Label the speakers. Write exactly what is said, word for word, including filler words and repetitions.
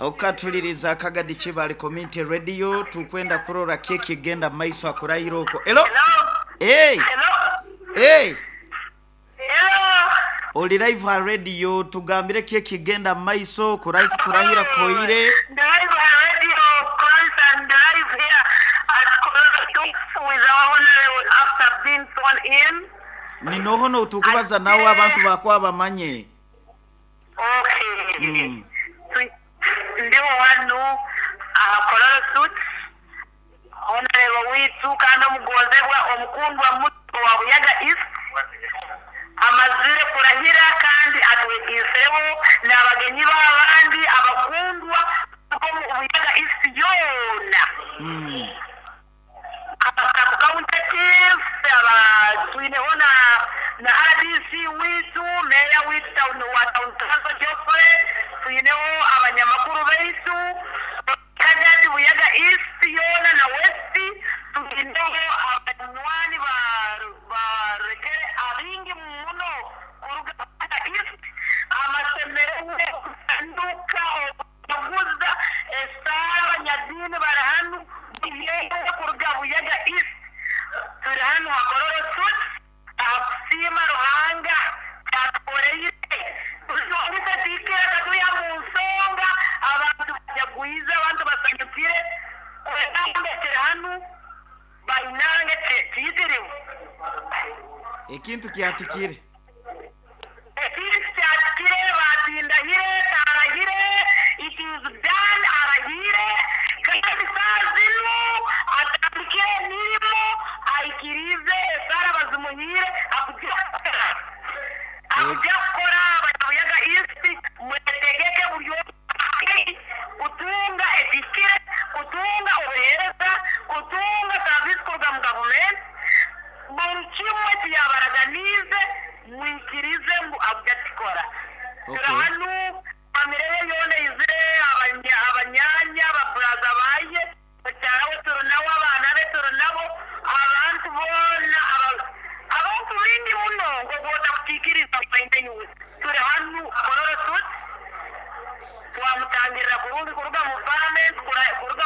Speaker 1: Okatuliriza Kagadi Kibale Community Radio, tukwenda kurora keki egenda maiso akurahira okwo. Hello. Hey. Hey. Oli live ha radio, tugambire keki egenda maiso kurahi kurahira koire.
Speaker 2: Live ha radio, constant live here at Kololo with our honorable after being sworn in.
Speaker 1: Ninohono tukubaza nawe abantu bakwa bamanye.
Speaker 2: Okay.
Speaker 1: Mm.
Speaker 2: Ndiho wano aha Kololo Suits, honorable witu kandi omugonzebwa omukundwa muto wa Buyaga East amazire kurahira kandi atwegiseho n'abagenyi b'abandi abakundwa bo mu Buyaga East yoona.
Speaker 1: Mm.
Speaker 2: Aba county chief, aba twineho na na R D C witu, meya witu town wa town council Geoffrey, twineho abanyamakuru baitu Kagadi Buyaga East yoona na West, twineho abanywani ba barekere abingi muno kuruga Buyaga East, amasomero kutanduka okuguza esaara, abanyadiini bari hanu yewe kuruga Buyaga East. Turi hanu hakororo Suits akusiima Ruhanga kyatukoreire tikira katuya mu nsonga, abantu bajagwize, abantu basanyukire kwetambekere hanu bainange kiyitiriwe.
Speaker 1: Ekintu kyatikire.
Speaker 2: Ekintu kyatikire, batindahire, tarahire, it is done, arahire kandi saa zinu atandikire emirimo, aikirize esaara bazimuhiire, akujja kukora, akujja kukora. Abanyabuyaga East mwetegeke buri omwe kutunga ekikire, kutunga obuheereza, kutunga service kuruga mu gavumenti, buri kimwe kiyabaraganize mwikirize ngu akujja kukikora.
Speaker 1: Okay.
Speaker 2: Turi hanu, famire ye yoona izire, abanya- abanyanya, ababuraza baye, mukyara we turi nabo, abaana be turi nabo, abantu boona, aba- abantu bingi muno ngogwota kukiikiriza mainenyuwe. Turi hanu Kololo Suits, twamutangirira kurungi kuruga mu parliament, kura- kuruga